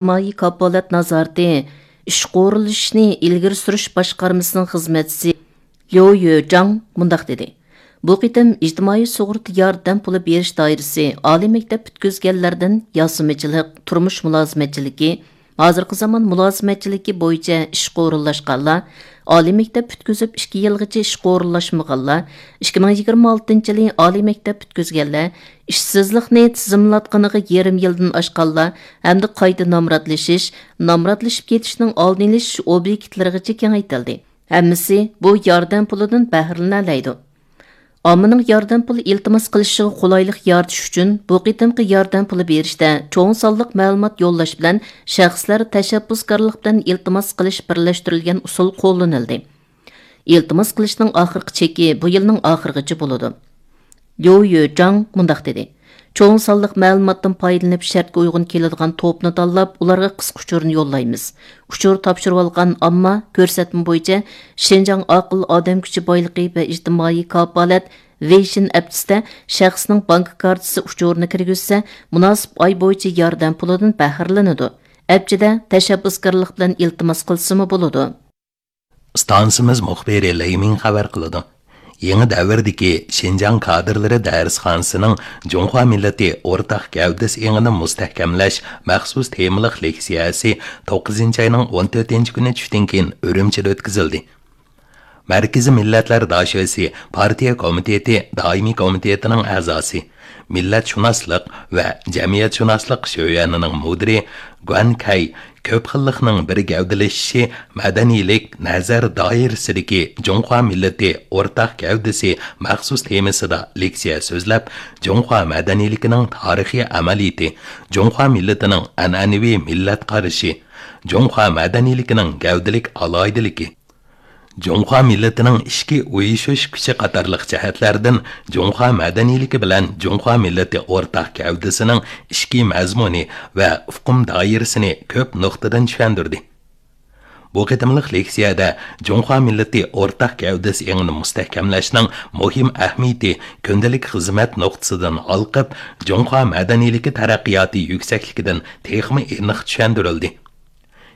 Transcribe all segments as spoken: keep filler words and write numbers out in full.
ئىجتىمائىي كاپالەت نازارىتى ئىشقا ئورۇنلىشىشنى ئىلگىرى سۈرۈش باشقارمىسىنىڭ خىزمەتچىسى ليۇ يۆجاڭ مۇنداق دېدى: بۇ قېتىم ئىجتىمائىي سۇغۇرتا ياردەم پۇلى بېرىش دائىرىسى ئالىي مەكتەپ پۈتكۈزگەنلەردىن ياسىمىچىلىق، تۇرمۇش مۇلازىمەتچىلىكى، ھازىرقى زامان مۇلازىمەتچىلىكى بويىچە ئىشقا ئورۇنلاشقانلار، ئالىي مەكتەپ پۈتكۈزۈپ ئىككى يىلغىچە ئىشقا ئورۇنلاشمىغانلار، ئىككى مىڭ يىگىرمە ئالتىنچى يىلى ئالىي مەكتەپ پۈتكۈزگەنلەر، ئىشسىزلىقنى تىزىملاتقىنىغا يېرىم يىلدىن ئاشقانلار ھەمدە قايتا نامراتلىشىش، نامراتلىشىپ كېتىشنىڭ ئالدىنى ئېلىش ئوبيېكتلىرىغىچە كېڭەيتىلدى. ھەممىسى بۇ ياردەم پۇلىدىن بەھرىلىنەلەيدۇ. ئاممىنىڭ ياردەم پۇلى ئىلتىماس قىلىشىغا قولايلىق يارىتىش ئۈچۈن، بۇ قېتىمقى ياردەم پۇلى بېرىشتە چوڭ سانلىق مەلۇمات يوللاش بىلەن شەخسلەر تەشەببۇسكارلىق بىلەن ئىلتىماس قىلىش بىرلەشتۈرۈلگەن ئۇسۇل قوللىنىلدى. ئىلتىماس قىلىشنىڭ ئاخىرقى چېكى بۇ يىلنىڭ ئاخىرىغىچە بولىدۇ. ليۇ يۆجاڭ مۇنداق دېدى: چوڭ سانلىق مەلۇماتتىن پايدىلىنىپ، شەرتكە ئۇيغۇن كېلىدىغان توپنى تاللاپ، ئۇلارغا قىسقا ئۇچۇرنى يوللايمىز. ئۇچۇر تاپشۇرۇۋالغان ئامما كۆرسەتمە بويىچە شىنجاڭ ئاقىل ئادەم كۈچى بايلىقى ۋە ئىجتىمائىي كاپالەت ۋېيشىن ئەپچىسىدە شەخسنىڭ بانكا كارتىسى ئۇچۇرىنى كىرگۈزسە، مۇناسىپ ئاي بويىچە ياردەم پۇلىدىن بەھرىلىنىدۇ. ئەپچىدە تەشەببۇسكارلىق بىلەن ئىلتىماس قىلسىمۇ بولىدۇ. ئىستانسىمىز مۇخبىرى لېي مىڭ خەۋەر قىلىدۇ. يېڭى دەۋردىكى شىنجاڭ كادىرلىرى دەرسخانىسىنىڭ جۇڭخۇا مىللىتى ئورتاق گەۋدىسى ئېڭىنى مۇستەھكەملەش مەخسۇس تېمىلىق لېكسىيەسى توققۇزىنچى ئاينىڭ ئون تۆتىنچى كۈنى چۈشتىن كېيىن ئۈرۈمچىدە ئۆتكۈزۈلدى. مەركىزىي مىللەتلەر داشۆسى پارتىيە كومىتېتى دائىمىي كومىتېتىنىڭ ئەزاسى، مىللەتشۇناسلىق ۋە جەمئىيەتشۇناسلىق شۆيۈەنىنىڭ مۇدىرى گۇەن كەي كۆپ خىللىقنىڭ بىر گەۋدىلىشىشى، مەدەنىيلىك نەزەر دائىرىسىدىكى جۇڭخۇا مىللىتى ئورتاق گەۋدىسى مەخسۇس تېمىسىدا لېكسىيە سۆزلەپ، جۇڭخۇا مەدەنىيلىكىنىڭ تارىخىي ئەمەلىيىتى، جۇڭخۇا مىللىتىنىڭ ئەنئەنىۋى مىللەت قارىشى، جۇڭخۇا مەدەنىيلىكىنىڭ گەۋدىلىك ئالاھىدىلىكى، جۇڭخۇا مىللىتىنىڭ ئىچكى ئۇيۇشۇش كۈچى قاتارلىق جەھەتلەردىن جۇڭخۇا مەدەنىيلىكى بىلەن جۇڭخۇا مىللىتى ئورتاق گەۋدىسىنىڭ ئىچكى مەزمۇنى ۋە ئۇقۇم دائىرىسىنى كۆپ نۇقتىدىن چۈشەندۈردى. بۇ قېتىملىق لېكسىيەدە جۇڭخۇا مىللىتى ئورتاق گەۋدىسى ئېڭىنى مۇستەھكەملەشنىڭ مۇھىم ئەھمىيىتى كۈندىلىك خىزمەت نۇقتىسىدىن ھالقىپ، جۇڭخۇا مەدەنىيلىكى تەرەققىياتى يۈكسەكلىكىدىن تېخىمۇ ئېنىق چۈشەندۈرۈلدى.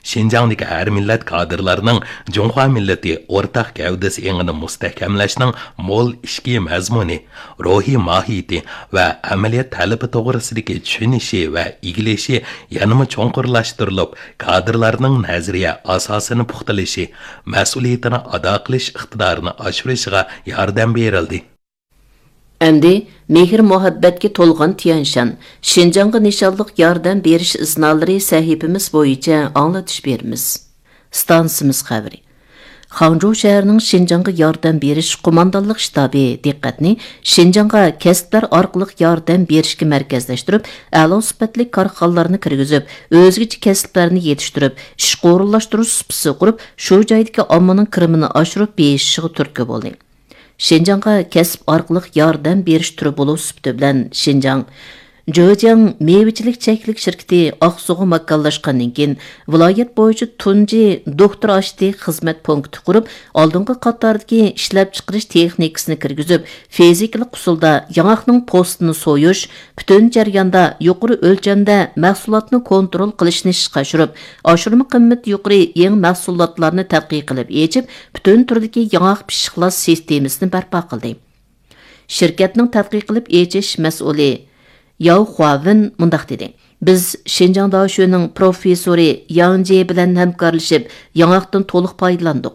شىنجاڭدىكى ھەر مىللەت كادىرلارنىڭ جۇڭخۇا مىللىتى ئورتاق گەۋدىسى ئېڭىنى مۇستەھكەملەشنىڭ مول ئىچكى مەزمۇنى، روھىي ماھىيىتى ۋە ئەمەلىيەت تەلىپى توغرىسىدىكى چۈشىنىشى ۋە ئىگىلىشى يەنىمۇ چوڭقۇرلاشتۇرۇلۇپ، كادىرلارنىڭ نەزەرىيە ئاساسىنى پۇختىلىشى، مەسئۇلىيىتىنى ئادا قىلىش ئىقتىدارىنى ئاشۇرۇشىغا ياردەم بېرىلدى. ئەمدى مېھىر-مۇھەببەتكە تولغان تيەنشان، شىنجاڭغا نىشانلىق ياردەم بېرىش ئىزنالىرى سەھىپىمىز بويىچە ئاڭلىتىش بېرىمىز. ئىستانسىمىز خەۋىرى. خاڭجۇ شەھىرىنىڭ شىنجاڭغا ياردەم بېرىش قوماندانلىق شتابى دىققەتنى شىنجاڭغا كەسىپلەر ئارقىلىق ياردەم بېرىشكە مەركەزلەشتۈرۈپ، ئەلا سۈپەتلىك كارخانىلارنى كىرگۈزۈپ، ئۆزگىچە كەسىپلەرنى يېتىشتۈرۈپ، ئىشقا ئورۇنلاشتۇرۇش سۇپىسى قۇرۇپ، شۇ جايدىكى ئاممىنىڭ كىرىمىنى ئاشۇرۇپ بېيىشىشىغا تۈرتكە بولدى. شىنجاڭغا كەسىپ ئارقىلىق ياردەم بېرىش تۈرى بولۇش سۈپىتى بىلەن شىنجاڭ جۆجياڭ مېۋىچىلىك چەكلىك شىركىتى ئاقسۇغا ماكانلاشقاندىن كېيىن، ۋىلايەت بويىچە تۇنجى دوكتور ئاشتى خىزمەت پونكىتى قۇرۇپ، ئالدىنقى قاتاردىكى ئىشلەپچىقىرىش تېخنىكىسىنى كىرگۈزۈپ، فىزىكىلىق ئۇسۇلدا ياڭاقنىڭ پوستىنى سويۇش، پۈتۈن جەرياندا يۇقىرى ئۆلچەمدە مەھسۇلاتنى كونترول قىلىشنى ئىشقا ئاشۇرۇپ، ئاشۇرما قىممىتى يۇقىرى يېڭى مەھسۇلاتلارنى تەتقىق قىلىپ ئېچىپ، پۈتۈن تۈردىكى ياڭاق پىششىقلاش سىستېمىسىنى بەرپا قىلدى. شىركەتنىڭ تەتقىق قىلىپ ئېچىش مەسئۇلى ياۋ خۇاۋېن مۇنداق دېدى: بىز شىنجاڭ داشۆنىڭ پروفېسسورى ياڭ جې بىلەن ھەمكارلىشىپ، ياڭاقتىن تولۇق پايدىلاندۇق.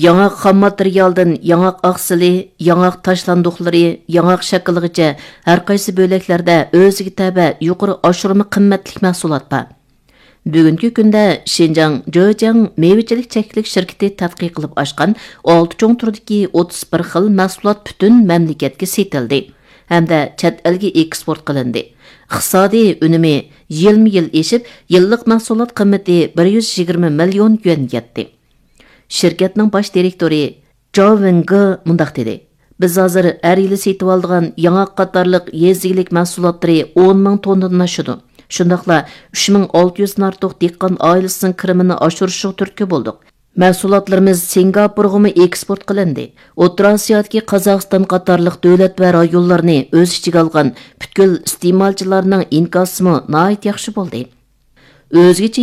ياڭاق خام ماتېرىيالدىن ياڭاق ئاقسىلى، ياڭاق تاشلاندۇقلىرى، ياڭاق شاكىلىغىچە ھەر قايسى بۆلەكلەردە ئۆزىگە تەۋە يۇقىرى ئاشۇرما قىممەتلىك مەھسۇلات بار. بۈگۈنكى كۈندە شىنجاڭ جۆجياڭ مېۋىچىلىك چەكلىك شىركىتى تەتقىق قىلىپ ئاچقان ئالتە چوڭ تۈردىكى ئوتتۇز بىر خىل مەھسۇلات پۈتۈن مەملىكەتكە سېتىلدى ھەمدە چەت ئەلگە ئېكسپورت قىلىندى. ئىقتىسادىي ئۈنۈمى يىلمۇ يىل ئېشىپ، يىللىق مەھسۇلات قىممىتى بىر يۈز يىگىرمە مىليون يۈەنگە يەتتى. شىركەتنىڭ باش دىرېكتورى جاۋ ۋېنگې مۇنداق دېدى: بىز ھازىر ھەر يىلى سېتىۋالىدىغان ياڭاق قاتارلىق يېزا ئىگىلىك مەھسۇلاتلىرى ئون مىڭ توننىدىن ئاشىدۇ. شۇنداقلا ئۈچ مىڭ ئالتە يۈزدىن ئارتۇق دېھقان ئائىلىسىنىڭ كىرىمىنى ئاشۇرۇشىغا تۈرتكە بولدۇق. مەھسۇلاتلىرىمىز سىنگاپورغىمۇ ئېكسپورت قىلىندى. ئوتتۇرا ئاسىيادىكى قازاقىستان قاتارلىق دۆلەت ۋە رايونلارنى ئۆز ئىچىگە ئالغان پۈتكۈل ئىستېمالچىلارنىڭ ئىنكاسىمۇ ناھايىتى ياخشى بولدى. ئۆزگىچە